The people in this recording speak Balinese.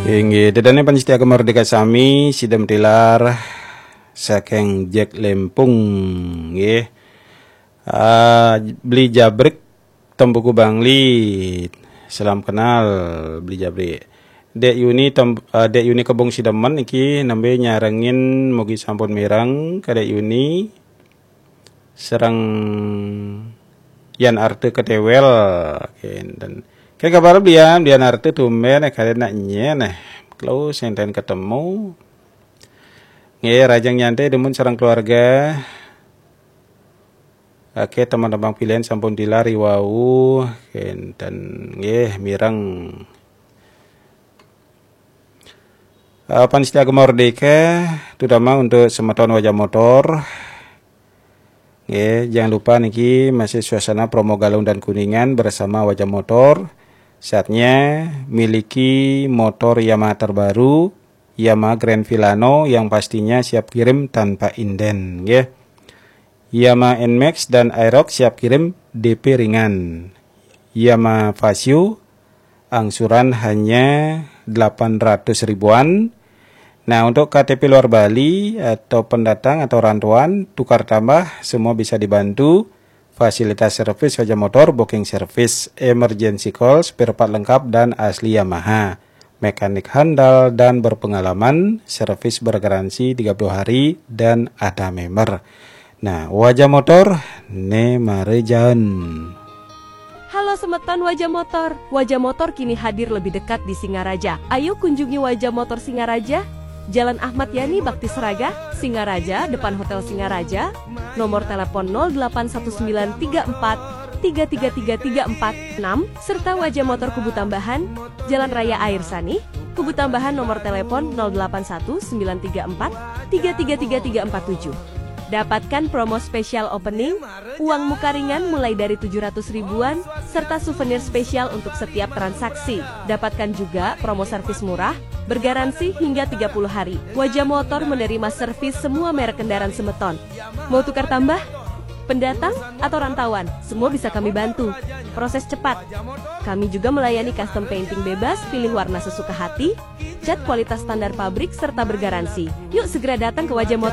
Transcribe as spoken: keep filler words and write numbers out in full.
Inggih, ida dané pamiarsa Gema Merdeka sami, sida matilar saking Jek Lempung, nggih. Ah, Beli Jabrik, Tempuku Bangli. Salam kenal, Beli Jabrik. Dek Yuni, tem, ah, Dek Yuni Kebung Sidemen niki nembé nyarengin, mugi sampun mireng ka Dek Yuni. Sareng Yan Arte Ketewel, kénten. Ké kabar Beli Yan, Beli Yan Arte tumbén, eh, kadén nak nyén, eh. Kelo senten ketemu. Nggih, rahajeng nyantai dumun sareng keluarga. Oke, teman-teman pilihan sampun tilar wau, kénten nggih mireng. Eh, pamiarsa Gema Merdeka, terutama untuk semeton Wajah Motor. Nggih, jangan lupa niki masih suasana promo Galung dan Kuningan bersama Wajah Motor. Saatnya miliki motor Yamaha terbaru, Yamaha Grand Filano yang pastinya siap kirim tanpa inden, nggih. Yamaha Nmax dan Aerox siap kirim D P ringan. Yamaha Fazzio angsuran hanya delapan ratus ribuan. Nah, untuk K T P luar Bali atau pendatang atau rantauan, tukar tambah, semua bisa dibantu. Fasilitas servis Wajah Motor, booking service, emergency call, spare part lengkap dan asli Yamaha. Mekanik handal dan berpengalaman, servis bergaransi tiga puluh hari dan ada member. Nah, Wajah Motor, né mara jaen. Halo semeton Wajah Motor. Wajah Motor kini hadir lebih dekat di Singaraja. Ayo kunjungi Wajah Motor Singaraja, Jalan Ahmad Yani Bakti Seraga, Singaraja, depan Hotel Singaraja. Nomor telepon nol delapan satu sembilan tiga empat tiga tiga tiga tiga empat enam, serta Wajah Motor Kubu Tambahan, Jalan Raya Air Sanih, Kubu Tambahan, nomor telepon nol delapan satu sembilan tiga empat tiga tiga tiga tiga empat tujuh. Dapatkan promo spesial opening, uang muka ringan mulai dari tujuh ratus ribuan, serta souvenir spesial untuk setiap transaksi. Dapatkan juga promo servis murah, bergaransi hingga tiga puluh hari. Wajah Motor menerima servis semua merek kendaraan semeton. Mau tukar tambah? Pendatang atau rantauan, semua bisa kami bantu. Proses cepat. Kami juga melayani custom painting bebas, pilih warna sesuka hati, cat kualitas standar pabrik, serta bergaransi. Yuk segera datang ke Wajah Motor.